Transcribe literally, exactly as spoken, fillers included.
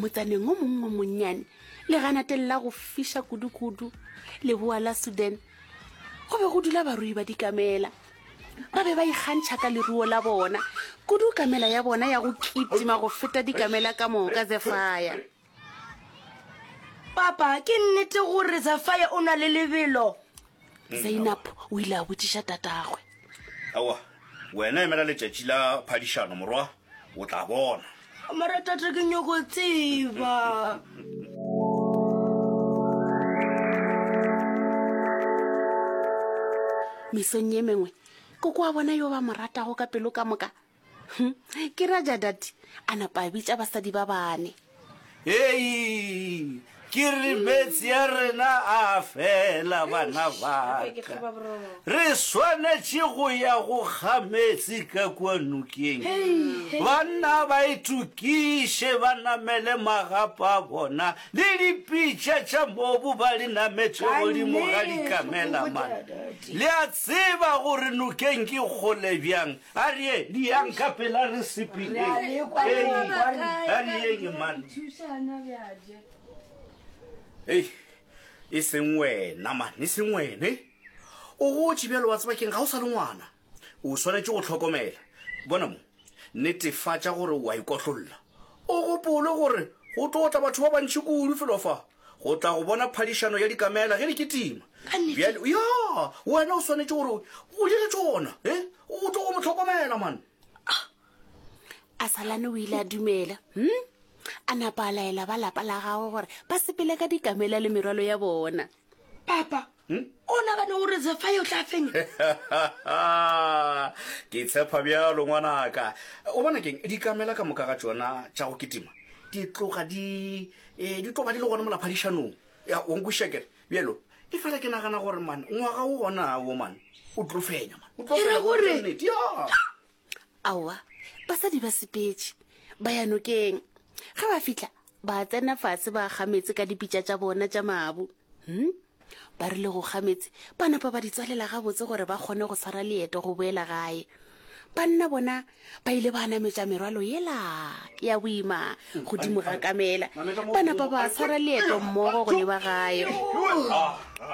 Motsaneng o mongwe o monnyane, leganateng la go fiša kudukudu, leboa la Sudan, go be go dula barui ba dikamela. Ba be ba ikgantšha ka leruo la bona, kudu kamela ya bona ya go kitima go feta dikamela ka moka, Zefaya. Papa, ke nnete gore Zefaya o na le lebelo? Zainab o ile a botšiša tatagwe. Aowa, wena emela letšatši la phadišano, morwa, o tla bona. Mara tate ke nyoko tseba. Mesong ye mengwe, koko wa bona yo ba mo ratago ka pelo ka moka, hm, ke Rajadati, a napa a bitša basadi ba bane. Hei, ke re meetse a rena a fela, bana ba ka. Re swanetše go ya go kga meetse ka kua nokeng. Banna ba itokiše ba namele magapa a bona le dipitša tša mobu ba di nametše godimo ga dikamela. Man, le a tseba gore nokeng ke kgole bjang. A re ye, diyang ka pela re sepeleng. Hei, a re yeng man. Hei, e seng wena man, e seng wena. Eh? O gotše bjalo wa tseba keng, ga o sa le ngwana. O swanetše go hlokomela. Bona mo, netefatša gore o a ikotlolla. O gopole gore go tlo tla batho ba bantši kudu felo fa go tla go bona phadišano ya dikamela ge di kitima. Bjale, ya, wena o swanetše gore o dire tšona, eh? O tlo go mo hlokomela, man. Asalane o ile a dumela, hm? A napa a laela ba lapa la gagwe gore ba sepele ka dikamela le merwalo ya bona. Papa, o nagana gore Zefaya o tla fenya? Ke tshepa bjalo, ngwanaka. O bona keng, dikamela ka moka ga tšona tša go kitima di tloga di, eh, di tlo ba di le gona mola phadišanong. Ya, o nkwešiša kere? Bjalo, efela ke nagana gore, man, ngwaga wo gona wo, man, o tlo fenya, man. O tlo E re fenya, go gore- nnete, ya. Aowa, basadi ba sepetše, ba ya nokeng. Ge ba fihla, ba tsena fase ba kga meetse ka dipitša tša bona tša mabu. Hm? Ba rile go kga meetse, ba napa ba di tswalela gabotse gore ba kgone go swara leeto go boela gae. Banna bona ba ile ba nametša merwalo yela ya boima godimo ga kamela, ba napa ba swara leeto mmogo go leba gae.